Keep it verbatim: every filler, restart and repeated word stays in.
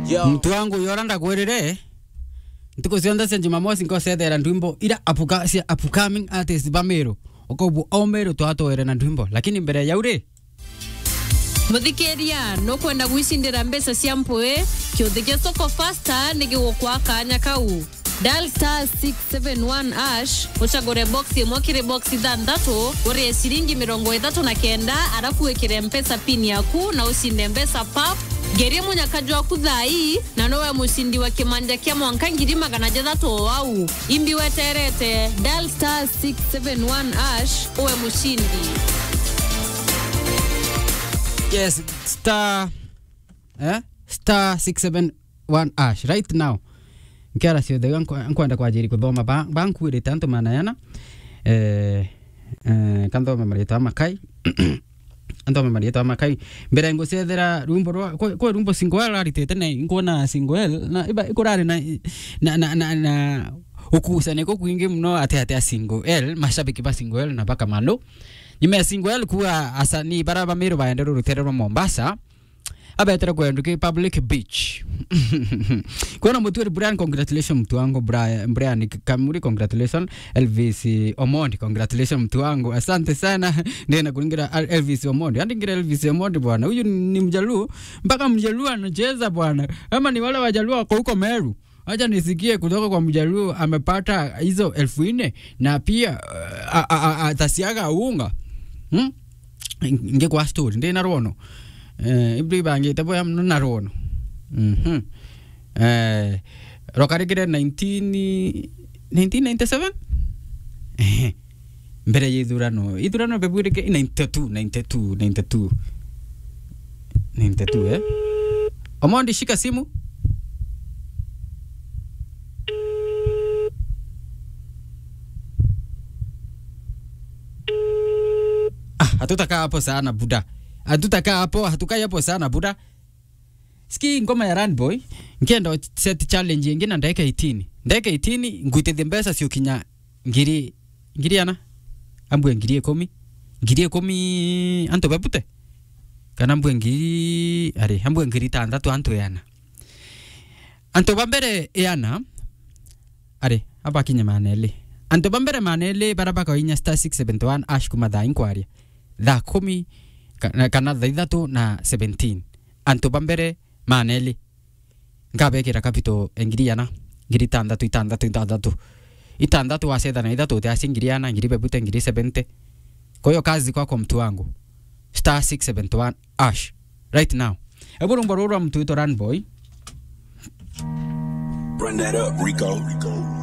Yo. Muntu wangu, yora ndakwirire, ntuku cionthe cia Jumamosi nkocethera ndwimbo ira apuka-, cia upcoming artists ba Meru. Ukaubua o Meru twatwere na ndwimbo. Lakini mbere ya uri, muthikiria, nukwenda gwicindira mbeca cia mpwi? Kiuthi gia Soko Faster ni gigukwa kanya kau. Dial star six seven one hash, ucagure box imwe kiri box ithanthatu, urie ciringi mirongo ithatu na kenda, arafu wikire Mpesa pin yaku na ucinde mbeca pap. Ngerie munyaka jwaku thaa ii, na nowe mucindi wa kimanja kia mwanka ngiri magana jathatu o au. Imbi weterete, dial star six seven one hash, uwe mucindi. Yes, star, eh? Star six seven one hash right now. Nkera ciothe iga nkwe-, nkwenda kwajiri kuthoma ba, ba nkuirite antu mana yana. Eh, eh, kanthome maritwa makai. Anthome maritwa makai. Mbere ngucethera rwimbo rwa, kwe, kwe rwimbo single L aritite na nkuona single L, na iba ikurari na, na, na, na, na ukucania kukwingi muno ati ati a single L, mashabiki ba single L na baka malo. Nyuma ya single L kuwa asanii bara ba Meru baendere rutere rwa Mombasa. Abetere kwendu ki public beach. Kwona mutwiri Brian, congratulations mtu wangu, Brian, Brian Kamuri, congratulations. Elvis Omondi, congratulations mtu wangu. Asante sana. Ndena kuringira Al-, Elvis Omondi. Andingira Elvis Omondi bwana. Huyu ni Mjaluo. Mpaka Mjaluo anacheza bwana. Ama ni wale Wajaluo wako huko Meru. Acha nisikie kutoka kwa Mjaluo amepata hizo elfu nne na pia, uh, a, a, a, atasiaga unga. Hmm? Nge kwa story, ndi na rwono. Eh, ibri bangite boya muno na rwono. Mhm. Eh, rokarikire nineteen, nineteen ninety-seven? Eh. Mbere ya ithurano. Ithurano bebwirike ninety-two, ninety-two, ninety-two. ninety-two, eh? Omondi, shika simu. Ah, hatutakaa hapo sana, buda. Hatutakaa hapo, hatukai hapo sana, buda. Ski ngoma ya Run Boy, nkienda set challenge ingi na ndagika eighteen. Ndagika eighteen, ngwitithie mbeca ciukinya ngiri, ngiri ana? Ambue ngiri ikumi. Ngiri ikumi antu bebute? Kana ambue ngiri, ari, ambue ngiri itantatu antu eana? Antu ba mbere eana, ari, abakinye maana eli. Antu ba mbere maana eli bara bakainya star six seventy-one hash kuma thaa inkwaria. Thaa kumi ka-, kana thaa ithatu na seventeen. Antu ba mbere maana eli. Nkabekira capital e ngiri ana, ngiri itantatu, itantatu, itantatu. Itantatu wacetha na ithatu, utiaci ngiri ana, ngiri bebute, ngiri seventy. Kwa hiyo kazi kwako mtu wangu. Star six seventy-one hash. Right now. Ebu rumbo ruru rwa mtu witwa Run Boy. Run that up, Rico.